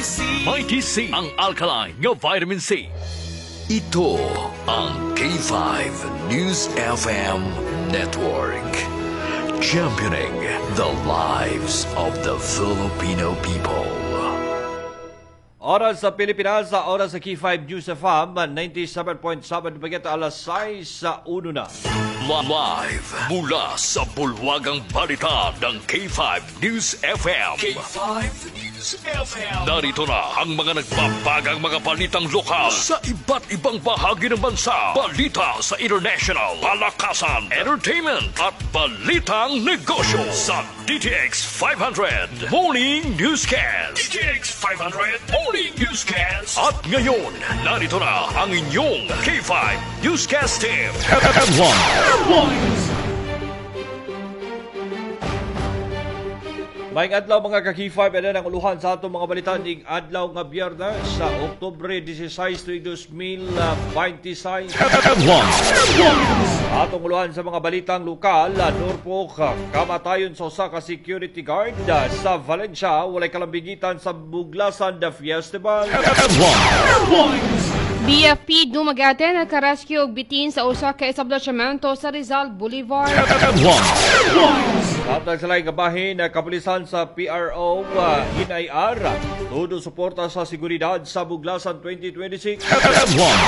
C. Mighty C, ang alkaline nga vitamin C. Ito ang K5 News FM Network. Championing the lives of the Filipino people. Oras sa Pilipinas, sa oras sa K5 News FM, 97.7 Dumaguete, alas 6 sa 1 na. Live mula sa bulwagang balita ng K5 News FM. K5 News FM. Narito na ang mga nagbabagang mga balitang lokal sa iba't ibang bahagi ng bansa. Balita sa international, palakasan, entertainment at balitang negosyo sa DTX 500 Morning Newscast. DTX 500 Morning Newscast. At ngayon, narito na ang inyong K5 Newscast team. Headlines. Maayong adlaw mga ka-K5, ana ang uluhan sa atong mga balita ning adlaw nga Biyernes sa Oktubre 16 tuig 2026. Headlines. Atong uluhan sa mga balitang lokal, Norfolk, kamatayon sa usa ka security guard sa Valencia, walay kalambigitan sa Buglasan the Festival. Headlines. BFP Dumaguete nakarescue og bitin sa usa ka establishmento sa Rizal Boulevard. Headlines. Samtang sa laing bahin, kapulisan sa PRO NIR, todo suporta sa seguridad sa Buglasan 2026. Headlines.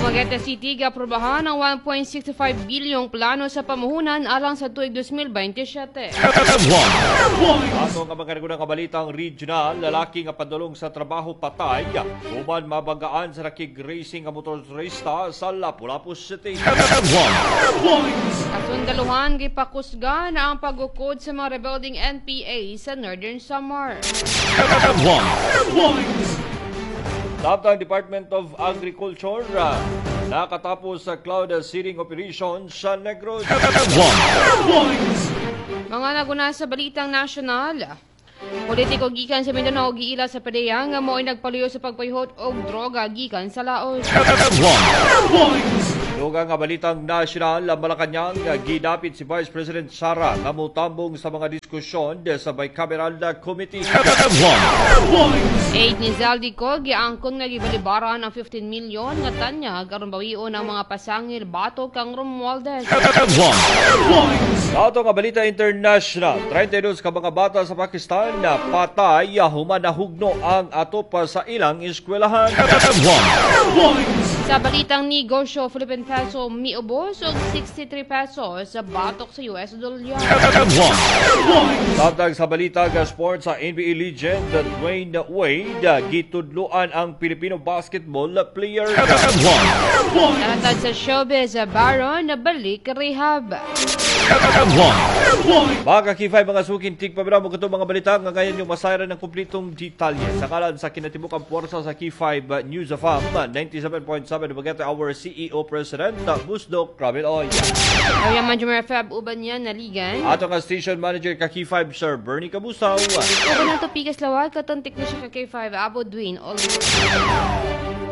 Dumaguete City giaprobahan ang 1.65 bilyong plano sa pamuhunan alang sa tuig 2027. Headlines. Ato nga mga nagunang kabalitang regional, lalaki nga padulong sa trabaho patay, human mabanggaan sa rakig racing nga motorista sa Lapu-Lapu City. Headlines. Kasundaluhan gipakusga na ang pagukod sa mga rebuilding NPA sa Northern Samar. Headlines. Samtang Department of Agriculture, nakatapos sa cloud seeding operation sa Negros. Headlines. Mga naguna sa balitang nasyonal. Politiko gikan sa Mindanao giila sa PDEA nga mo'y nagpaluyo sa pagpayhot og droga gikan sa Laos. Headlines. Dugang nga balitang nasyonal, Malacañang gidapit si Vice President Sara nga motambong sa mga diskusyon sa bicameral committee. Headlines. Aid ni Zaldy Co giangkon nga gibalibaran ang 15 milyon nga tanyag aron bawion ang mga pasangil batok kang Romualdez. Headlines. Ato nga balita international, 32 ka mga bata sa Pakistan na patay human nahugno ang atop sa ilang eskwelahan. Headlines. Sa balitang negosyo, Philippine peso miubos og 63 pesos sa batok sa US dollar. Headlines. Samtang sa balita nga sports sa NBA legend Dwayne Wade gitudloan ang Filipino basketball player. Headlines. Nalatad sa showbiz, Baron balik rehab. Headlines. Mga ka-K5, mga suking tigpabira mo katong mga balita nga ngayon yung masayran ng kumplitong detalye. Sa kalan sa kinatibukang puwersa sa K5 News FM 97.7 Dumaguete, our CEO President Busdok Ramil Oy. Yaman Jumer Feb uban niya naligan. Ato nga station manager ka K5 Sir Bernie Kabusaw. Uban ang tupikas lawag katong teknisyon ka K5 Abo Dwayne Oliver.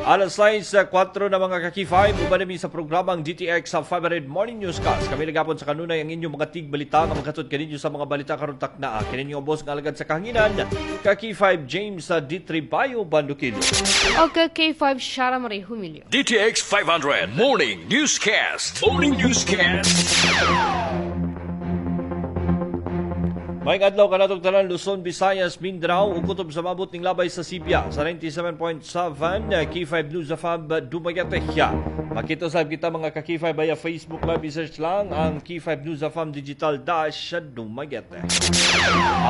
Alas 6:04 na mga ka-K5, uban namin sa programang DTX sa 500 Morning Newscast. Kami nagapon sa kanunay ang inyong mga tigbalita nga maghatod kaninyo sa mga balita karon taknaa. Kini inyong boss nga alagad sa kahanginan, ka-K5 James D. Tribayo Bandukil. O ka K5 Shara Marie Humilio. DTX 500 Morning Newscast. Morning Newscast. Maayong adlaw kanatong tanan Luzon, Visayas, Mindanao ug kutob sa mabot ning labay sa Sibya sa 97.7 K5 News FM Dumaguete. Makita sab kita mga ka K5 via Facebook Live, i-search lang ang K5 News FM Digital Dash Dumaguete.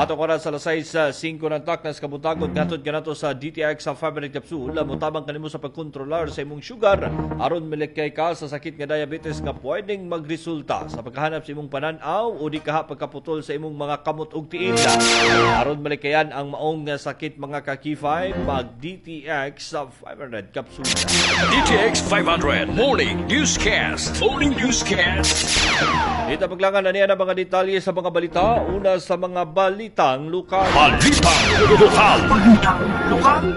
Ato oras sa alas 6:05 ng taknas kabuntagon gatod kanato sa DTX sa 500 capsule motabang kanimo sa pagkontrolar sa imong sugar aron malikay ka sa sakit nga diabetes nga pwedeng magresulta sa pagkahanap sa imong panan-aw o di kaha pagkaputol sa imong mga kamot og tiil. Aron malikayan ang maong nga sakit mga ka K5, mag DTX sa 500 capsule. DTX 500 Morning Newscast. Morning Newscast. Dito paglangan na niya ang mga detalye sa mga balita. Una sa mga balitang lokal. Balitang lokal.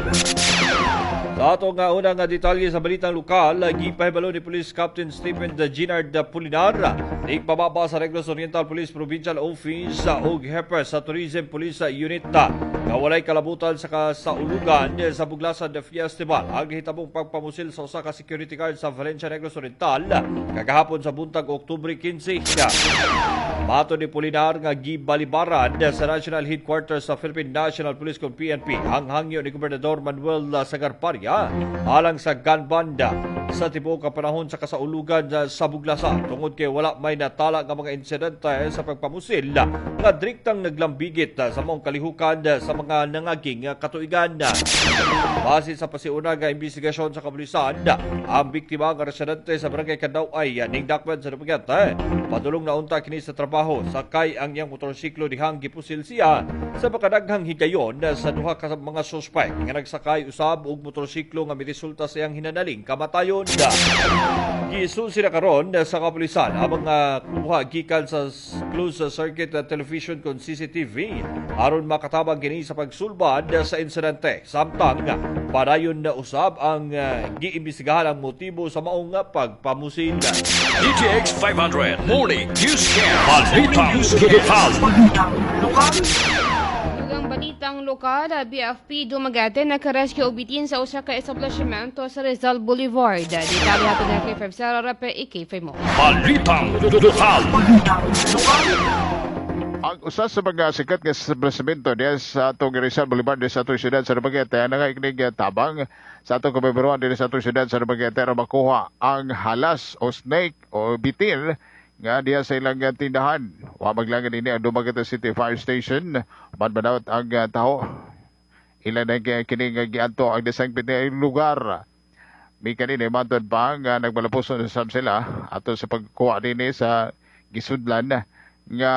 Sa ato nga una nga detalye sa balitang lokal, gipahibalo ni Police Captain Stephen Ginard Pulinar, pababa sa Negros Oriental Police Provincial Office ug hepe sa Tourism Police Unit nga walay kalabutan sa kasaulugan sa Buglasan Festival ang gihitabong pagpamusil sa usa ka security guard sa Valencia, Negros Oriental kagahapon sa buntag Oktubre 15. Mato ni Pulinar nga gibalibaran sa National Headquarters sa Philippine National Police kon PNP ang hangyo ni Gobernador Manuel Sagarparia alang sa gun banda sa tibuok ka panahon sa kasaulugan sa Buglasan tungod kay wala may natala nga mga insidente sa pagpamusil nga direktang naglambigit sa maong kalihukan sa mga nangaging katuigan. Base sa pasiuna nga investigasyon sa kapulisan, ang biktima nga residente sa barangay Candaw-ay ning Dakman sa Dumaguete padulong na unta kini sa trabaho sakay ang iyang motorsiklo dihang gipusil siya sa makadaghang higayon sa duha ka mga suspek nga nagsakay usab og motorsiklo nga miresulta sa iyang hinanaling kamatayon. Gisusi na karon sa kapulisan ang mga kuha gikan sa closed circuit television kon CCTV aron makatabang kini sa pagsulbad sa insidente. Samtang padayon na usab ang giimbestigahan ang motibo sa maong pagpamusil. DTX 500 Morning Newscast. Balitang Lokal. Dugang balitang lokal, BFP Dumaguete nakarescue og bitin sa usa ka establishmento sa Rizal Boulevard. Detalye hatod ng K5 Sarah Rape, K5 mo. Balitang Lokal. Ang usa sa mga sikat nga establishmento diya sa atong Rizal Boulevard diya sa atong siyudad sa Dumaguete ang nangaikinig tabang sa atong kabibiruan diya sa atong siyudad sa Dumaguete aron makuha ang halas o snake o bitin nga diya sa ilang tindahan. Wa maglangan ini ang Dumaguete City Fire Station. Manmanawat ang taho. Ilan ang kini nga giadto ang desangpit nga lugar. Mi kanini matod pa nga nagmalapuson sa sila ato sa pagkuha dinhi sa gisudlan nga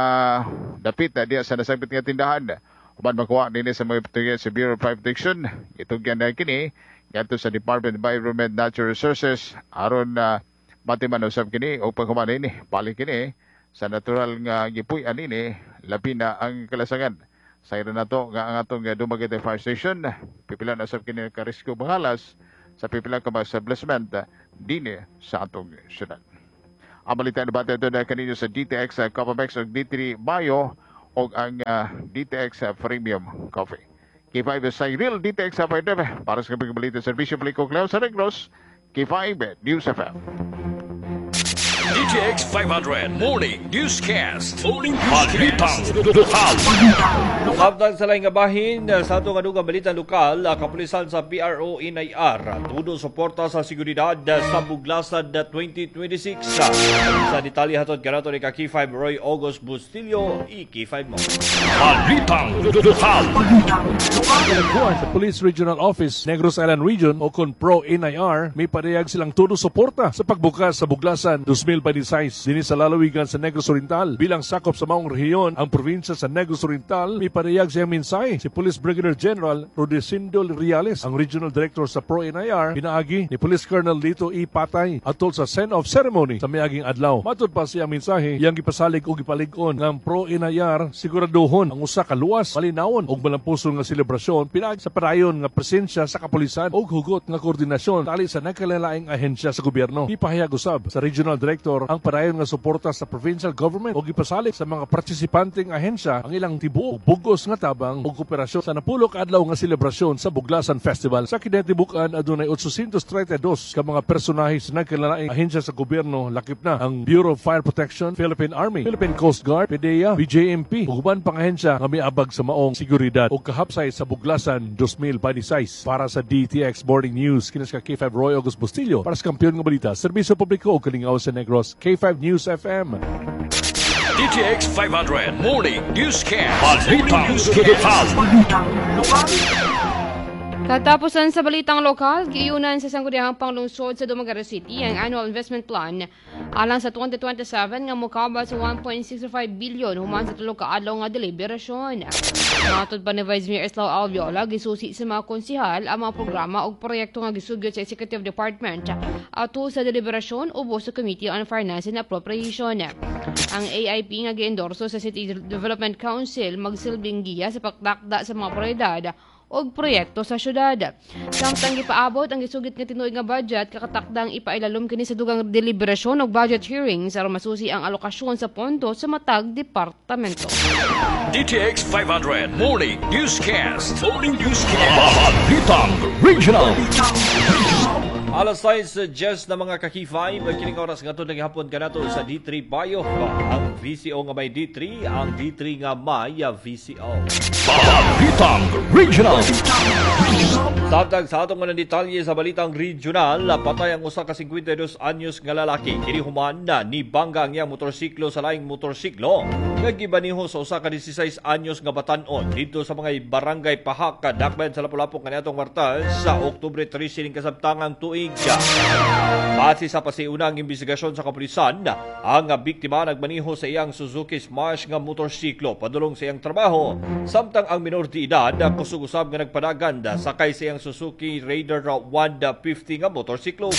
dapit na diya sa nasangpit nga tindahan. Uban makuha dinhi sa mga portuguese sa Bureau of Fire Protection. Itugyan na kini ngadto sa Department of Environment Natural Resources aron na matiman usab kini o paghuman ini balik kini sa natural nga gipuy-an ini, labi na ang kalasangan. Sa ira nato nga ang atong Dumaguete Fire Station pipila na usab kini ka-rescue bahalas sa pipila ka mga establishment dinhi sa atong syudad. Ang balita na bata ito na kaninyo sa DTX Copamex o D3 Bio o ang DTX Premium Coffee. K5 Cyril DTX 5 para sa kapag balita serbisyo publiko Cleo sa Negros, K5 News FM. DTX 500 Morning Newscast. Morning Balitang Lokal. Samtang sa laing nga bahin sa atong adugang balita lokal, kapulisan sa PRO NIR tudo suporta sa seguridad sa Buglasan 2026. Sa detalye hatod kanato ni ka K5 Roy August Bustillo, i-K5 mo. Balitang Lokal. Kalagbuan sa Police Regional Office, Negros Island Region o kon Pro NIR, may padayag silang todo suporta sa pagbukas sa Buglasan 2026 dinhi sa lalawigan sa Negros Oriental. Bilang sakop sa maong rehiyon, ang probinsya sa Negros Oriental, may padayag siyang mensahe si Police Brigadier General Rodecindo Riales, ang Regional Director sa Pro NIR, pinaagi ni Police Colonel Lito E. Patay atol sa send-off ceremony sa miaging adlaw. Matod pa siyang mensahe, iyang gipasalig o gipalig-on ng Pro NIR siguraduhon ang usa ka luwas, malinawon ug malampuson nga selebrasyon pinaagi sa padayon nga presensya sa kapulisan ug hugot nga koordinasyon tali sa nagkalalaing ahensya sa gobyerno. Gipahayag usab sa Regional Director ang padayon nga suporta sa provincial government ug gipasalig sa mga partisipanteng ahensya ang ilang tibuok bugos nga tabang ug kooperasyon sa napulo ka adlaw nga selebrasyon sa Buglasan Festival. Sa kinatibukan adunay 832 ka mga personahe sa nagkalalaing ahensya sa gobyerno, lakip na ang Bureau of Fire Protection, Philippine Army, Philippine Coast Guard, PDEA, BJMP ug uban pang ahensya nga miabag sa maong seguridad ug kahapsay sa Buglasan 2026. Para sa DTX Morning News, kinis ka K5 Roy August Bustillo para sa kampiyon nga balita, serbisyo publiko ug kalingaw sa Negros, K5 News FM. DTX 500 Morning Newscast. Balitang Lokal. Katapusan sa balitang lokal, giiyunan sa Sangguniang Panglungsod sa Dumaguete City ang Annual Investment Plan alang sa 2027 nga mokabot sa 1.65 billion human sa tulo ka adlaw nga deliberasyon. Matod pa ni Vice Mayor Eslao Alviola, gisusi sa mga konsihal ang mga programa ug proyekto nga gisugyot sa Executive Department ato sa deliberasyon ubos sa Committee on Finance and Appropriation. Ang AIP nga giendorso sa City Development Council magsilbing giya sa pagtakda sa mga prioridad og proyekto sa syudad. Samtang gipaabot ang gisugit nga tinuig nga budget, kakatakdang ipailalom kini sa dugang deliberasyon og budget hearings aron masusi ang alokasyon sa pondo sa matag departamento. DTX 500 Morning Newscast. Morning Newscast. Balitang Regional. Alas 6:10 na, mga ka-K5, kining oras nga naghapon kanato sa D3 Bio. Ang VCO nga may D3, ang D3 nga may VCO. Balitang Regional. Samtang sa atong mga detalye sa balitang regional, patay ang usa ka 52 anyos nga lalaki. Kini human na ni bangga ang iyang motorsiklo sa laing motorsiklo nga gibaniho sa usa ka 16 anyos nga batan-on didto sa mga barangay Pahak, Dakbayan sa Lapu-Lapu kaniadtong Martes sa Oktubre 13 ning kasabtangang tuig. Base sa pasiunang imbestigasyon sa kapulisan, ang biktima nagmaniho sa iyang Suzuki Smash nga motorsiklo padulong sa iyang trabaho, samtang ang minor de edad kusog usab nga nagpadagan sakay sa iyang Suzuki Raider 150 nga motorsiklo.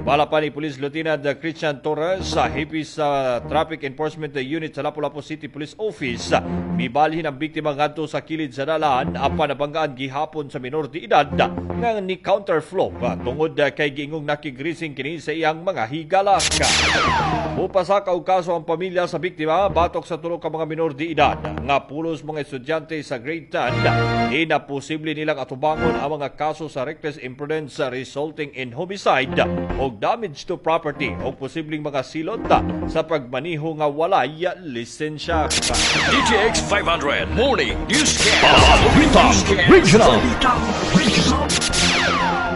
Bala pa ni Police Lieutenant Christian Torres sa hepe sa Traffic Enforcement Unit sa Lapu-Lapu City Police Office, mibalhin ang biktima ngadto sa kilid sa dalan apan nabanggaan gihapon sa minor de edad nga ni counterflow tungod kay giingong nakigrising kini sa iyang mga higala. Mupasaka og kaso ang pamilya sa biktima batok sa tulo ka mga minor de edad nga pulos mga estudyante sa grade 10. Di na posible nilang atubangon ang mga kaso sa reckless imprudence resulting in homicide o damage to property o posibleng mga silot sa pagmaniho nga walay lisensya. DTX 500 Morning Newscast. Balitang Regional.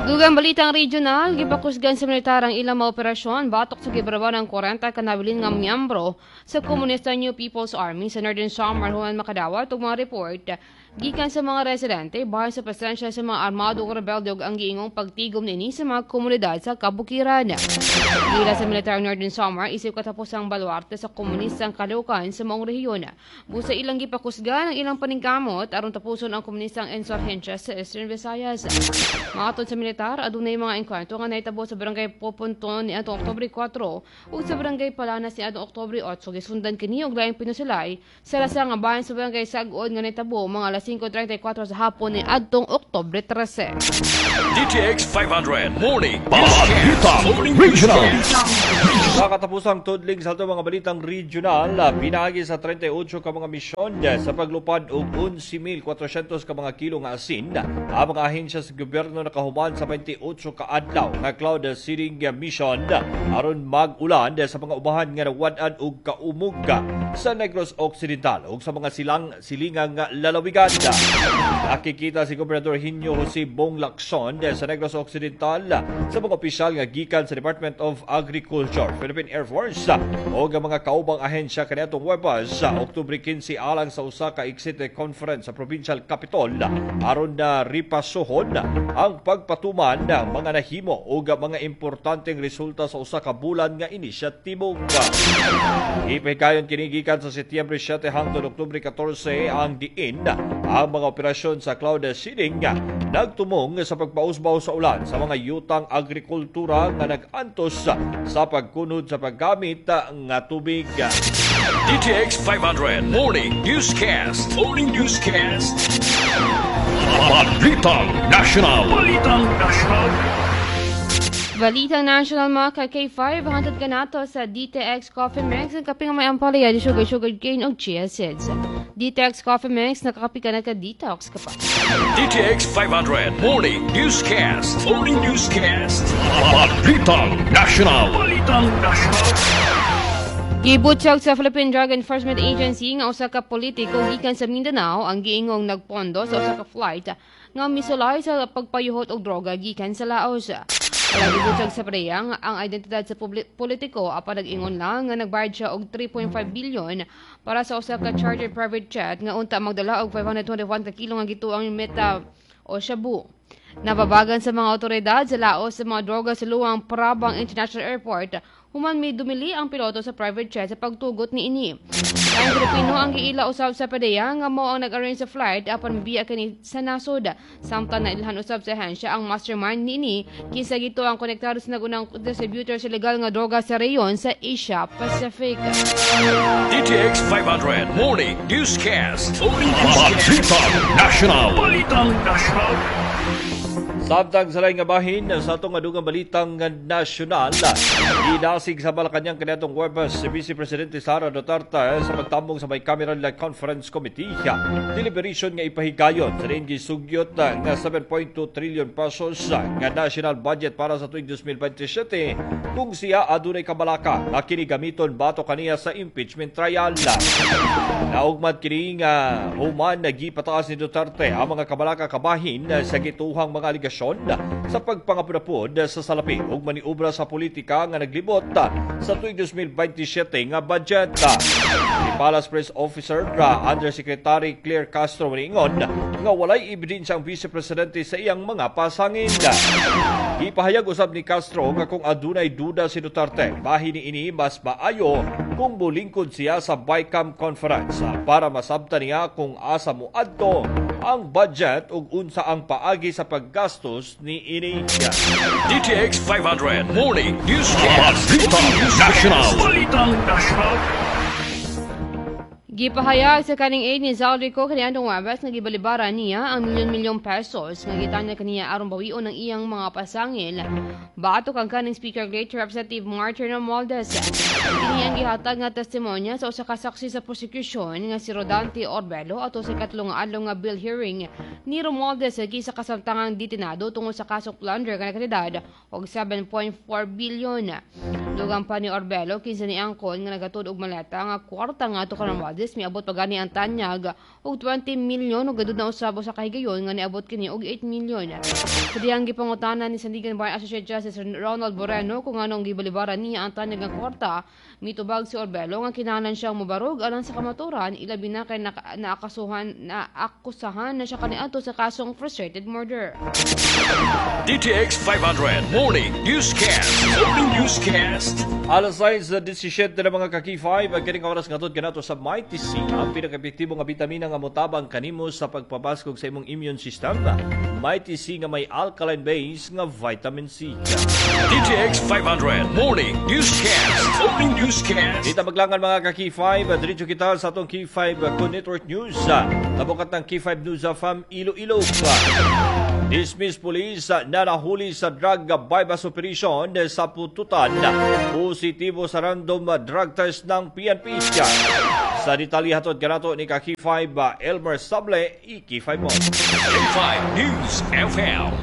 Dugang balitang regional, gipakusgan sa militar ang ilang mga operasyon batok sa gibrawa ng 40 ka nabilin nga miyembro sa Komunista New People's Army sa Northern Samar human makadawat og mga report gikan sa mga residente bahin sa presensya sa mga armado ug rebelde ug ang giingong pagtigom niini sa mga komunidad sa kabukiran. Giila sa militar ang Northern Samar isip katapusang baluarte sa komunistang kalihukan sa maong rehiyon. Busa ilang gipakusgan ang ilang paningkamot aron tapuson ang komunistang insurhensya sa Eastern Visayas. Matod sa militar, adunay mga engkwentro nga nahitabo sa barangay Poponton ni atong Oktubre 4 ug sa barangay Palanas ni atong Oktubre 8. Gisundan kini og laing pinusilay sa lasa nga bahin sa barangay Sagod nga nahitabo mga alas 5:34 sa hapon ni adtong Oktubre 13. DTX 500 Morning Balitang Morning Regional. Sa katapusang tudling sa atong mga balitang regional, pinaagi sa 38 ka mga misyon sa paglupad og 11,400 ka mga kilo nga asin ang mga ahensya sa gobyerno nakahuman sa 28 ka adlaw nga cloud seeding mission aron mag-ulan sa mga umahan nga nawad-an og kaumog sa Negros Occidental ug sa mga silang silingang lalawigan. Nakikita si Gobernador Hinyo Jose Bong Lacson sa Negros Occidental sa mga opisyal nga gikan sa Department of Agriculture, Philippine Air Force o ang mga kaubang ahensya kaniadtong Huwebes sa Oktubre 15 alang sa usa ka exit conference sa Provincial Capitol aron na ripasuhon ang pagpatuman ng mga nahimo ug mga importanteng resulta sa usa ka bulan nga inisyatibo. Ipahikayon kini gikan sa Setyembre 7 hangtod Oktubre 14 ang diin ang mga operasyon sa cloud seeding nagtumong sa pagpausbaw sa ulan sa mga yutang agrikultura nga nag-antos sa pagkunod sa paggamit nga tubig. DTX 500 Morning Newscast. Morning Newscast. Balitang National. Balitang National. Balitang National, mga ka-K5, hantod ka nato sa DTX Coffee Mix, ang kape nga may ampalaya, di sugar, sugar cane o chia seeds. DTX Coffee Mix, nakakape ka, naka-detox ka pa. DTX 500 Morning Newscast. Morning Newscast. Balitang National. Balitang National. Gibutyag sa Philippine Drug Enforcement Agency nga usa ka politiko gikan sa Mindanao ang giingong nagpondo sa usa ka flight nga misulay sa pagpayuhot og droga gikan sa Laos. Wala gibutyag sa PDEA ang identidad sa politiko apan nag-ingon lang nga nagbayad siya og 3.5 billion para sa usa ka chartered private jet nga unta magdala og 521 ka kilo nga gituang meta o shabu. Nababagan sa mga otoridad sa laos sa mga droga sa Luang Prabang International Airport, human may dumili ang piloto sa private jet sa pagtugot ni ini. Ang Pilipino ang giila usab sa PDEA nga mao ang nag-arrange sa flight apan mibiya kini sa nasod. Samtang nailhan usab sa ahensya ang mastermind niini, kinsa gito ang konektado sa nagunang distributor sa legal nga droga sa rehiyon sa Asia Pacific. DTX 500 Morning Newscast. Balitang National. Balitang National. Samtang sa laing nga bahin sa atong adugang balitang nasyonal, gidasig sa Malacañang kaniadtong Huwebes si Vice Presidente Sara Duterte sa pagtambong sa Bicameral Conference Committee deliberation nga ipahigayon sa diin gisugyot nga 7.2 trillion pesos nga national budget para sa tuig 2027 kung siya adunay kabalaka nga kini gamiton batok kaniya sa impeachment trial. Naugmad kini nga human nagipataas ni Duterte ang mga kabalaka kabahin sa gituhang mga aligasyon sa pagpangapud sa salapi ug maniobra sa politika nga naglibot sa tuig 2027 nga budget. Ni Palace Press Officer Undersecretary Claire Castro niingon nga walay ebidensya ang Vice Presidente sa iyang mga pasangin. Gipahayag usab ni Castro nga kung adunay duda si Duterte, bahin niini mas maayo kung molingkod siya sa BICAM conference para masabtan niya kung asa moadto ang budget ug unsa ang paagi sa paggastos ni ini. DTX 500 Morning Newscast. Balitang National. Balitang National. Gipahayag sa kaning aide ni Zaldy Co kaniadtong Huwebes nga gibalibaran niya ang milyon-milyong pesos nga gitanyag kaniya aron bawion ang iyang mga pasangil batok ang kaning Speaker Great Representative Martin Romualdez. Kini ang gihatag nga testimonya sa usa ka saksi sa prosecution nga si Rodante Orbelo ato sa ikatlo nga adlaw nga bail hearing ni Romualdez sa kasamtangang detinado tungod sa kasong plunder nga nakatidad og 7.4 billion. Dugang pa ni Orbelo, kinsa niangkon nga nagatod og maleta nga kwarta ngadto kang Romualdez, miabot pa gani ang tanyag og 20 million ug aduna usab sa kahigayon nga niabot kini og 8 million. Sa dihang gipangutana ni Sandiganbayan Associate Justice Ronald Moreno kung anong gibalibaran niya ang tanyag nga kwarta, mitubag si Orbelo nga kinahanglan siyang mobarog alang sa kamaturan, ilabi na kay naakasuhan naakusahan na siya kaniadto sa kasong frustrated murder. DTX 500 Morning Newscast. Morning Newscast. Alas 6:17 na, mga ka-K5, ang kining oras ngadto kanato sa Mighty C, ang pinaka-epektibo nga bitamina nga motabang kanimo sa pagpabaskog sa imong immune system. Mighty C nga may alkaline base nga vitamin C. DTX 500 Morning Newscast. Morning Newscast. Di ta maglangan, mga ka-K5, diretso kita sa atong K5 Good Network News. Tabukat ng K5 News FM Iloilo. Dismiss police na nahuli sa drug buy-bust operation sa Pututan. Positibo sa random drug test ng PNP. Sa detalye, hatod kanato ni ka K5 Elmer Sable, i-K5 mo. K5 News FM.